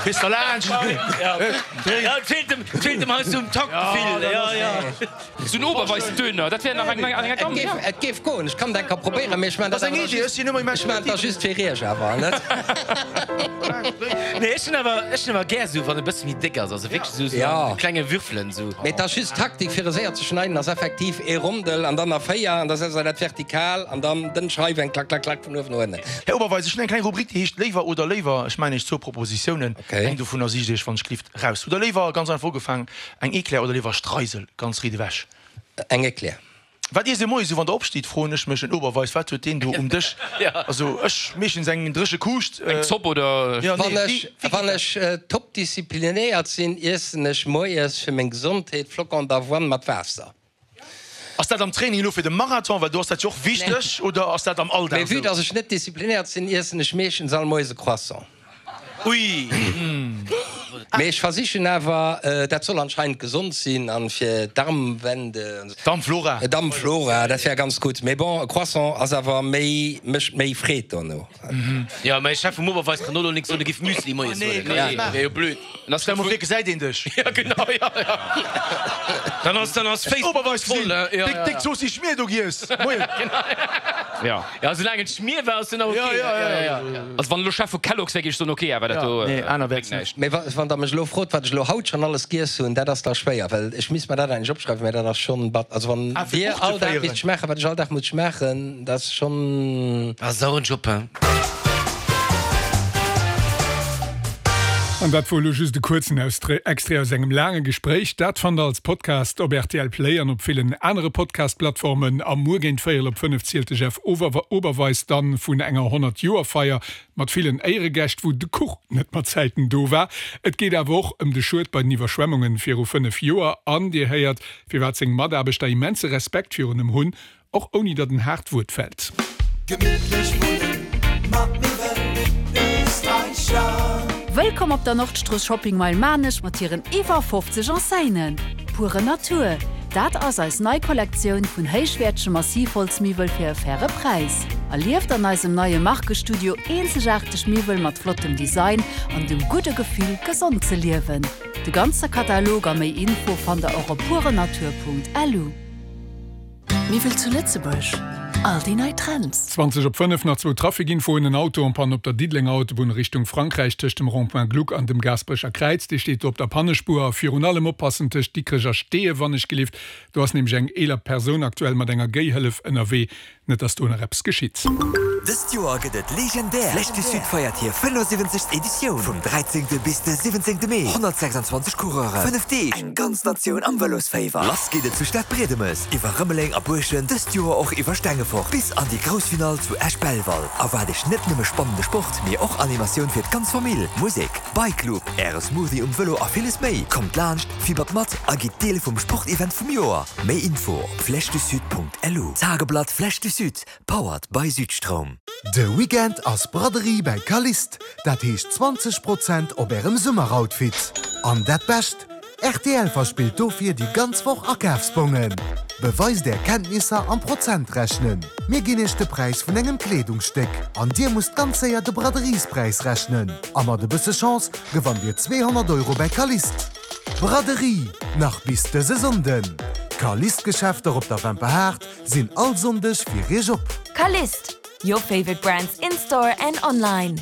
Kriss der laanscht. Ja, et feelt dem, et feelt dem heiansdo um Taktgefill. Ja, ja. Sou en Oberweis-Döner, dat wär nach eng eng Gamme, ja. Et géif goen, ech kann et eng Kéier probéieren, mee ech maan dat awer da just, ech maan et da just fir iech awer, net? Nee, ech hunn awer, ech hunn awer gär sou, wann e bësse méi déck ass, also wierklech sou, sou a klenge Würfelen sou. Mee et ass just d'Taktik fir e séier ze schneiden ass effektiv ee Rondel an dann a 4 an da setzt der dat vertikal an dann dënn Scheiwen, klack, klack, klack vun uewen no ënnen. Här Oberweis, ech hunn eng kleng Rubrik, déi heescht Léiwer oder léiwer. Ech maachen Iech zwou Propositiounen, eng dovunner sicht Iech wann ech gelift raus. Hutt Der léiwer, ganz einfach ugefaangen, Eng Eclair oder léiwer Streisel, ganz riit ewech? Eng Eclair. Wat iesst Dir moies esou wann Der opstitt, froen ech mech. En Oberweis, wat huet deen do um Dësch? Also ech meeschtens eng dréche Kuuscht. Eng Zopp oder? Jo, nee, wéi geet dat? Wann ech top disziplinéiert sinn, iessen ech moies fir meng Gesondheet Flocons d'avoine mat Waasser. Ass dat am Training elo fir de Marathon, well do ass dat jo och wichteg, oder ass dat am Alldag Mee vue esou? dass ech net disziplinéiert sinn, iessen ech meeschtens all Moies e Croissant. Ui! Mee ech versichen awer, dat soll anscheinend gesond sinn an fir d'Darmwände. Darmflora. Darmflora, dat wär ganz gutt. Mee bon, e Croissant ass awer méi, mécht méi Freed dono. Jo, mä Chef vum Oberweis kann och lo nix soen, e giff Müsli moies huelen. Nee, wär jo blöd. Stell mol vir, gesäit een dech. Jo, genau, jo, jo. Dann ass, dann ass Facebook Oberweis voll, gesinn, jo, jo. déck, déck Zooss Schmier do giess. Moien. Jo. Jo, soulaang et Schmier war, ass jo nach ok. Jo, jo, jo, jo. Also wann elo Chef vu Kellogg's wär, géif ech soen, ok, awer dat do Nee, aner bréngt wäert's net. näischt. Mee wa, wann der mech elo frot, wat ech elo haut schonn alles giess hunn, dat ass da schwéier, well ech misst mer dat eigentlech opschreiwen, mä dat ass schonn bat. Also wann Ah, fir Dir Buch ze all Dag féieren. misst schmaachen, wat ech all Dag muss schmaachen, dat ass schonn. Ah, sauren Job, hein. An dat wor elo just e kuerzen Extrait aus engem laange Gespréich. Dat fannt der als Podcast op rtl Play an op villen anere Podcast-Plattformen. A muer géint véierel op 5 zielt de Jeff Oberweis dann vun enger 100 Joer-Feier mat villen Éieregäscht, wou de Kuch net mat Zäiten do war. Et geet awer och ëm de Schued bei den Iwwerschwemmungen viru 5 Joer. An dir héiert, firwat seng Mataarbechter immense Respekt virun em hunn. Och ouni datt en haart Wuert fält. Gemittlech wunnen mat Miwwel Österreicher. Wëllkomm op der Nordstrooss Shopping Mile Maarnech mat hiren iwwer 50 Enseignen. Pure Natur, dat ass eis nei Kollektioun vun héichwäertege Massivholzmiwwel fir e faire Präis. Erlieft an eisem neie Markestudio eenzegaarteg Miwwel mat flottem Design an dem gudde Gefill, gesond ze liewen. De ganze Katalog a méi Info fannt der och op purenatur.lu. Miwwel zu Lëtzebuerg, all déi nei Trends. 20 op 5, nach zwou Traficinfoen, En Auto en panne op der Diddelenger Autobunn Richtung Frankräich tëscht dem Rond-point Gluck an dem Gaasperecher Kräiz. Dee steet do op der Pannespuer. A virun allem oppassen tëscht Dikrech a Steeë wannechgelift. Do ass nämlech eng eeler Persoun aktuell mat enger Géihëllef ënnerwee. Net dass do nach eppes geschitt. Dëst Joer gëtt et legendär! D'Flèche du Sud feiert hir 75. Editioun vum 13. bis de 17. Mee. 126 Coureuren, 5 Deeg, eng ganz Natioun am Vëlosféiwer. Lass geet et zu Stadbriedemes, iwwer Rëmeleng a Buerschent, dëst Joer och iwwer Stengefort bis an déi grouss Finall zu Esch-Belval. Erwaart Iech net nëmme spannende Sport, mee och Animatioun fir d'ganz Famill, Musek, Bike Loop, Äre Smoothie um Vëlo a villes méi. Kommt laanscht, fibbert mat a gitt Deel vum Sportevent vum Joer. Méi Info op flèchedusud.lu. Tageblatt Flèche du Sud, powered by Südstroum. De Weekend ass Braderie bäi Calliste, dat heescht 20 Prozent op ärem Summeroutfit. An dat Bescht, rtl verspillt dofir déi ganz Woch Akafsbongen. Beweist är Kenntnisser am Prozentrechnen, mir ginn iech de Präis vun engem Kleedungsstéck an dir musst ganz séier de Braderiespräis rechnen. A mat e bësse Chance gewannt dir 200 Euro bäi Calliste. Braderie, nach bis dëse Sonnden! D'Calliste-Geschäfter op der Wemperhaart sinn all Sonndeg fir iech op. Calliste, your favorite brands in store and online.